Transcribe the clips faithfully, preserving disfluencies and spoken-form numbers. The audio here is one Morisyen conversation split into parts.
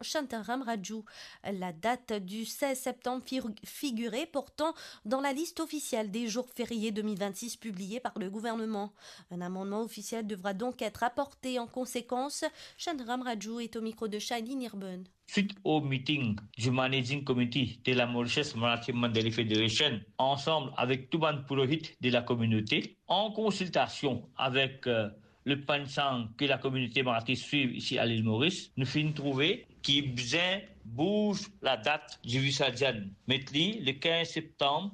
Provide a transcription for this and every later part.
Shantaram Raju. La date du seize septembre fir-, figurait pourtant dans la liste officielle des jours fériés deux mille vingt-six publiée par le gouvernement. Un amendement officiel devra donc être apporté en conséquence. Shantaram Raju est au micro de Shailene Irben. Suite au meeting du Managing Committee de la Mauritius Marathi Mandali Federation, ensemble avec tout bann purohit de la communauté, en consultation avec, euh, le panchang que la communauté marathi suit ici à l'île Maurice, nou finn trouve ki bizin bouz la dat di Visarjan, met li le quinze septembre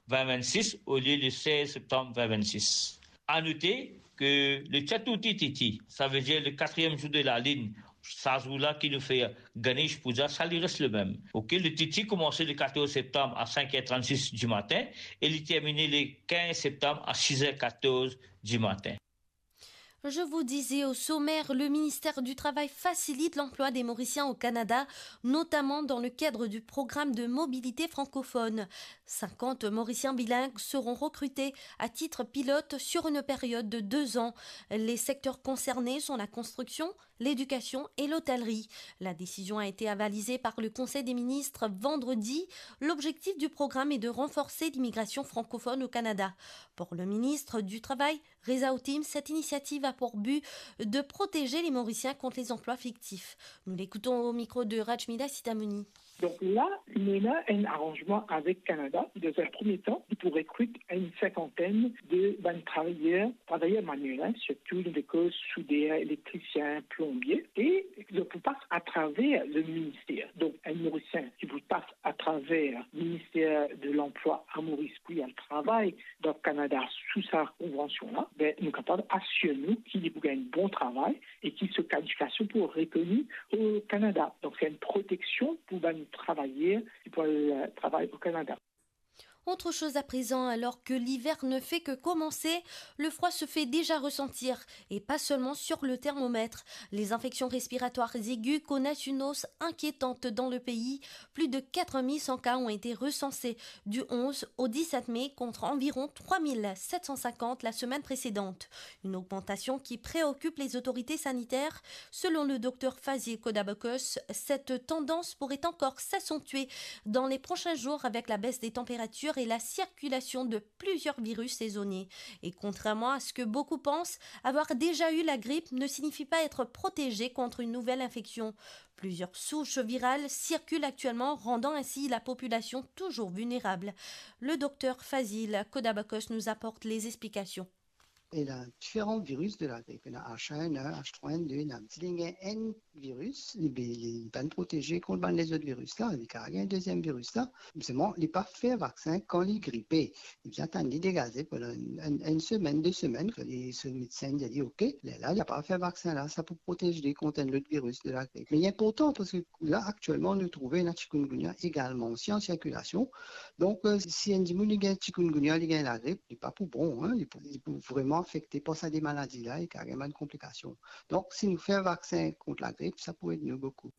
vingt vingt-six au lieu le seize septembre vingt vingt-six. À noter que le Chaturthi Tithi, ça veut dire le quatrième jour de la lune, sa zour la ki nou fer Ganesh Puja, sa li res le mem. Ok, le Tithi koumans le quatorze septembre à cinq heures trente-six du matin et li termine le quinze septembre à six heures quatorze du matin. Je vous disais au sommaire, le ministère du Travail facilite l'emploi des Mauriciens au Canada, notamment dans le cadre du programme de mobilité francophone. Cinquante Mauriciens bilingues seront recrutés à titre pilote sur une période de deux ans. Les secteurs concernés sont la construction, l'éducation et l'hôtellerie. La décision a été avalisée par le Conseil des ministres vendredi. L'objectif du programme est de renforcer l'immigration francophone au Canada. Pour le ministre du Travail, Reza Otim, cette initiative a pour but de protéger les Mauriciens contre les emplois fictifs. Nous l'écoutons au micro de Rajmila Sitamoni. Donk la, nou ena enn aranzman avek Kanada. Dan enn premie tan, pou rekrit enn sinkantenn de bann travayer, travayer manuel, sirtou nou pe koz souder, elektrisien, plonbie, e donk pou pas atraver le minister. Donk enn Morisien ki pou pas atraver Minister de Lanplwa a Moris pou li al travay dan Kanada sou sa konvansion la, be, nou kapav asir nou ki li pou gagn bon travay e ki so kalifikasion pou rekoni o Kanada. Donk, se enn proteksion pou bann travayer ki pou al, euh, travay o Kanada. Autre chose à présent, alors que l'hiver ne fait que commencer, le froid se fait déjà ressentir, et pas seulement sur le thermomètre. Les infections respiratoires aiguës connaissent une hausse inquiétante dans le pays. Plus de quatre mille cent cas ont été recensés du onze au dix-sept mai, contre environ trois mille sept cent cinquante la semaine précédente. Une augmentation qui préoccupe les autorités sanitaires. Selon le docteur Fazil Kodabakos, cette tendance pourrait encore s'accentuer dans les prochains jours avec la baisse des températures et la circulation de plusieurs virus saisonniers. Et contrairement à ce que beaucoup pensent, avoir déjà eu la grippe ne signifie pas être protégé contre une nouvelle infection. Plusieurs souches virales circulent actuellement, rendant ainsi la population toujours vulnérable. Le docteur Fazil Kodabakos nous apporte les explications. Ena diferan viris de lagrip, ena H un N un, H trois N deux, ena. Si li gagn enn viris, li, li, li pa proteze kont bann lezot viris la, li kapav gagn deziem viris la. Selman, li pa fer vaksin kan li gripe. Li bizin atann li degaze pandan enn, enn, enn semenn, de semenn, kan li, so medsin dir li, "Ok, lerla, li kapav fer vaksin la, sa pou protez li kont enn lot viris de lagrip." Me li inportan, parski la, aktielman, nou trouve ena chikungunya egalman osi an sirkilasion. Donk, euh, si enn dimoun li gagn chikungunya, li gagn lagrip, li pa pou bon, hein, li pou, li pou vreman afekte par sa de maladi la, e kapav gagn bann konplikasion. Donk, si nou fer vaksin kont lagrip, sa pou ed nou boukou.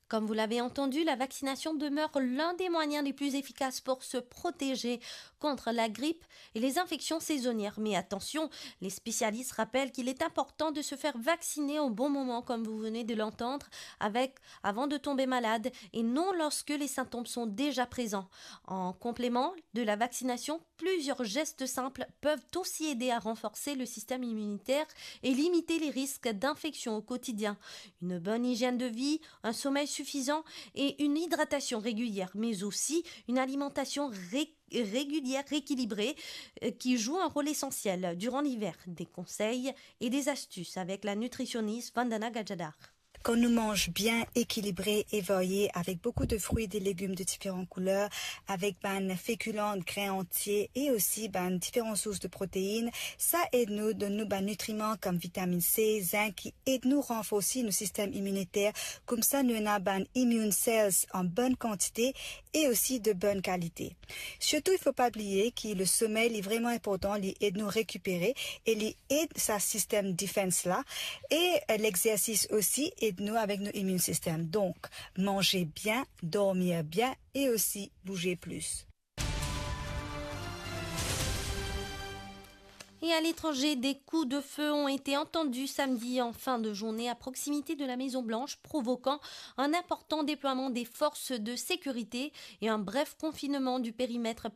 Comme vous l'avez entendu, la vaccination demeure l'un des moyens les plus efficaces pour se protéger contre la grippe et les infections saisonnières. Mais attention, les spécialistes rappellent qu'il est important de se faire vacciner au bon moment, comme vous venez de l'entendre, avec, avant de tomber malade et non lorsque les symptômes sont déjà présents. En complément de la vaccination, plusieurs gestes simples peuvent aussi aider à renforcer le système immunitaire et limiter les risques d'infection au quotidien. Une bonne hygiène de vie, un sommeil suffisant et une hydratation régulière, mais aussi une alimentation ré-, régulière, équilibrée, euh, qui joue un rôle essentiel durant l'hiver. Des conseils et des astuces avec la nutritionniste Vandana Gajadhar. Kan nou manz bien, ekilibre e varie, avek boukou de frwi, de legim de diferan kouler, avek bann fekilan, grin antie e osi bann diferan sours de protein, sa ed nou donn nou bann nitriman kom vitamin C, zink, ki ed nou ranforsi nou sistem iminiter. Koumsa, nou ena bann immune cells an bonn kantite e osi de bonn kalite. Sirtou, il faut pas oublier ki le somey, li vreman inportan, li ed nou rekipere e li ed sa sistem defense la. E, euh, lexersis osi ed nou avek nou immune system. Donk, manze bien, dormir bien e osi bouze plis. Et à l'étranger, des coups de feu ont été entendus samedi en fin de journée à proximité de la Maison Blanche, provoquant un important déploiement des forces de sécurité et un bref confinement du périmètre